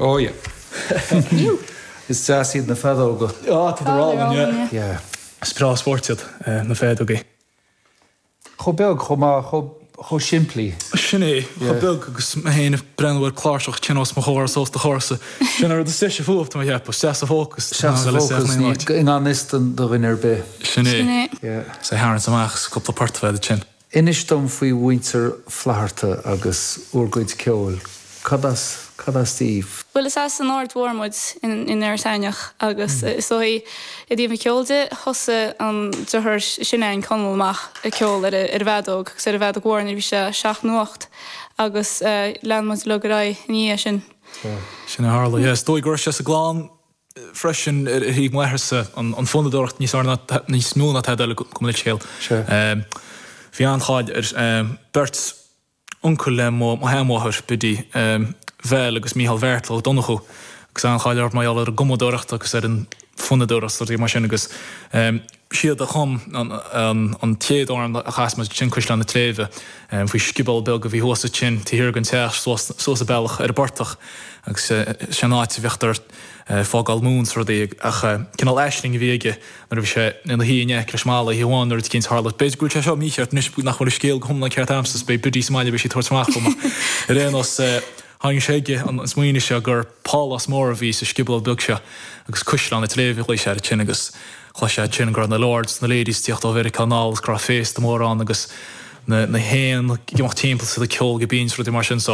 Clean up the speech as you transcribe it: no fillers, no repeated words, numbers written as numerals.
Oh yeah. Is deas iad na feadóga. Ah, tá siad álainn, yeah. Yeah. Is breá spóirt iad, na feadógaí. Chomh beag, chomh maith, chomh, chomh simplí. Sin é, chomh beag agus mé féin ag breathnú ar cláirseach tinn os mo chomhair is os do chomhairsa. Sin an rud is deise fúthu, tá mé ag ceapadh, isteach sa bhfócas. Isteach sa bhfócas, ní, i ngan fhios do dhuine ar bith. Sin é. Sin é. Yeah. Is é tharraingt amach is cúpla port a bheith ansin. Inis dom faoi mhuintir Flatharta agus bhur gcuid ceoil. Cad as, cad as daoibh? Bhuel, is as an Aird Mhór muid in Iorras Aithneach agus is dóigh i dtaobh an cheoil de, thosaigh an deartháir is sine againn, Conall, amach ag ceol ar an bhfeadóg agus ar an bhfeadóg mhór nuair a bhí sé seacht nó ocht agus lean muid uilig ar aghaidh ina dhiaidh sin. Sin a tharla, yeah. Is dóigh go raibh sé sa gclann freisin ar thaobh m'atharsa, an fonnadóireacht níos fearr ná, níos mó ná tada eile, gabh mo leithscéal. Bhí an-cháil ar beirt uncail le mo sheanmháthair, Biddy Vel agus Mícheál Bheairtle Ó Donnchú, agus an-cháil orthu mar gheall ar an gcumadóireacht agus ar an bhfonnadóireacht is rudaí mar sin agus siad a chum an chéad amhrán a chas muid, sin Cuisleán na Tréibhe, faoi sciobóil beag a bhí thuas ansin taobh thiar den teach suas an bealach ar an bportach agus sin an áit a bhíodh ag fágáil móin is rudaí ach cineál aisling a bhí aige nuair a bhí sé ina shuí in aice leis an mballa oíche amháin nuair rud eicínt tharla. B'fhéidir go bhfuil sé seo mícheart anois nach bhfuil an scéal go hiomlán ceart a'msa is beidh Biddy sa mbaile beidh sí ag tabhairt amach dom ach ar aon nós tháinig sé chuige an smaoineamh seo gur pálás mór a bhí sa scioból beag seo agus Cuisleán na Tréibhe a ghlaoigh sé air ansin agus chlois sé ansin go raibh na lords is na ladies ag tíocht ó Mheiriceá anall agus go raibh féasta mór ann agus na na héin ag imeacht timpeall is iad ag ceol go binn is rudaí mar sin so.